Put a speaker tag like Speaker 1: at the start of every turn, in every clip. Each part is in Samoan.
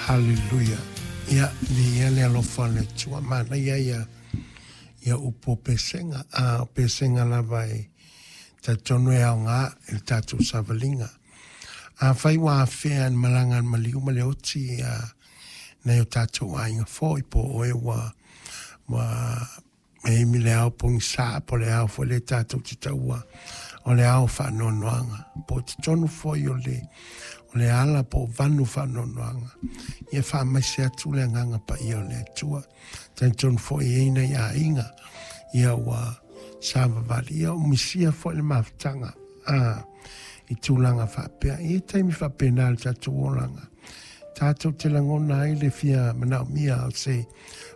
Speaker 1: Haleluia. Ia, viia le alofa o le Atua. Manaia ia ia upu o pesega. A o pesega lava e talitonu e aoga i le tatou savaliga. Afai ua afea e le malaga a le maliu ma le oti ia nai o tatou aiga foi po o oe ua ua e imi le ao pogisa po o le ao foi lea tatou te taua o le ao faanoanoaga po o totonu foi o le o le ala po o vanu faanoanoaga. Ia faamaise atu le agaga paia o le Atua. Talitonu foi e i ai nai aiga ia ua savavali ia ua misia foi le mafutaga a i tulaga faapea. E i ai taimi faapena i le tatou olaga tatou te lagona ai le fia manaomia o se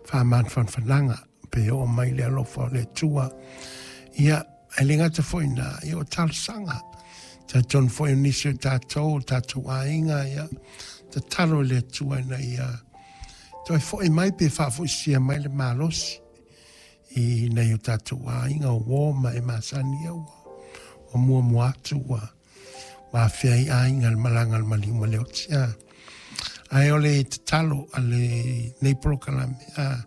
Speaker 1: faamafanafanaga pe oo mai le alofa o le Atua. Ia, e le gata foi i ina, ia o talosaga. Talitonu foi o nisi o tatou, o tatou aiga, ia, tatalo i le Atua ina ia toe foi mai pe faafoisia mai le malosi i nai o tatou aiga o uo ma e masani ia ua, ua muamua atu ua, ua afea ai aiga le malaga a le maliu ma le oti. A. Ae o le tatalo a lenei polokalame, a,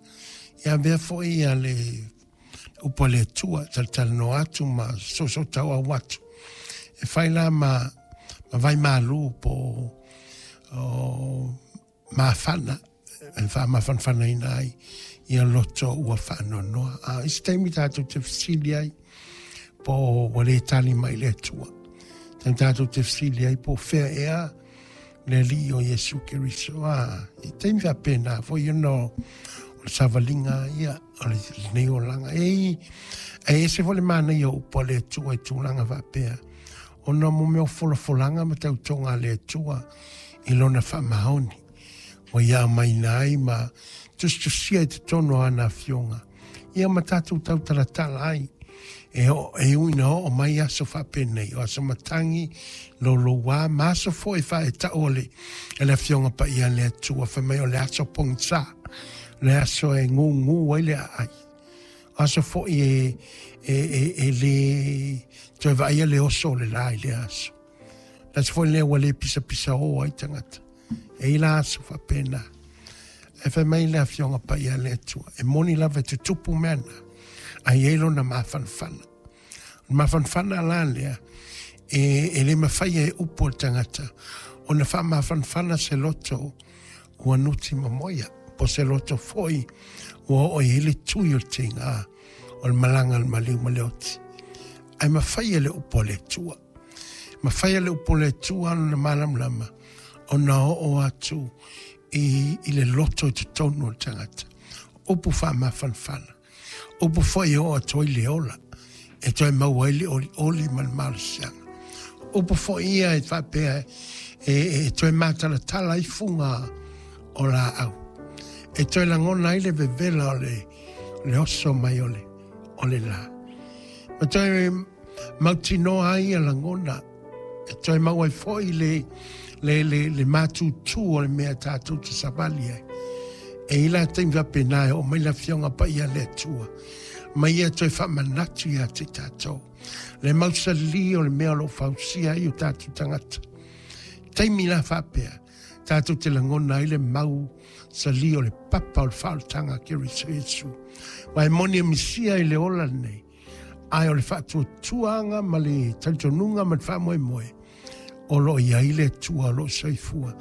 Speaker 1: ia avea foi ia le upu a le Atua, talatalanoa atu ma soosootauau atu. E fai la ma, ma vai malu po o mafana e faamafanafanaina ai ia loto ua faanoanoa. A isi taimi tatou te fesili ai po ua le tali mai le Atua. Taimi tatou te fesili ai po o fea ea le Alii o Iesu Keriso. A, i taimi faapena foi ona o le savaliga ia o lenei olaga. E, e ese foi le manaia o upu a le Atua i tulaga faapea. Ona mo mea o folafolaga ma tautoga a le Atua i lona faamaoni. Ua ia aumaina ai ma tusitusia i totonu o ana afioga. Ia ma tatou tautalatala ai. E, o, e ui ina oo mai aso faapenei, o aso matagi, louloua, ma aso foi faaetau o le, e le afioga paia a le Atua, fai mai o le aso pogisa, le aso e gūgū ai le aai. O aso foi e, e, e, e le toe vaaia le oso o le la i lea aso. Le aso foi lea ua le pisapisaō ai tagata. E i la aso faapena. Ae fai mai le Afioga Paia a le Atua, e moni lava e tutupu mea na, ae i ai lona mafanafana. O le mafanafana la lea, e, e le mafai e upu a le tagata ona faamafanafana se loto ua nuti mamoia, po se loto foi ua oo i ai le tui o le tiga o le malaga a le maliu ma le oti. Ae mafai e le upu a le Atua. Mafai e le upu a le Atua lona malamalama ona oo atu i, i le loto i totonu o le tagata. Upu faamafanafana. Upu foi e oo atu ai le ola, e toe maua ai le olioli ma le malosiaga. Upu foi ia e faapea e, e toe matalatala ai fuga o laau. E toe lagona ai le vevela o le, le oso mai o le, o le la. Ma toe mautinoa ai ia lagona e toe maua ai foi le, le, le, le mātūtū o le mea tatou te savali ai. E i la taimi faapena e oo mai le Afioga Paia a le Atua, ma ia toe faamanatu ia te tatou. Le mausali o le mea o lo o fausia ai o tatou tagata. Taimi la faapea, tatou te lagona ai le mau sali o le papa o le faaolataga a Keriso Iesu. Aua e moni e misia i le ola lenei, ae o le faatuatuaga ma le talitonuga ma le faamoemoe o lo o i ai le Atua o lo o soifua.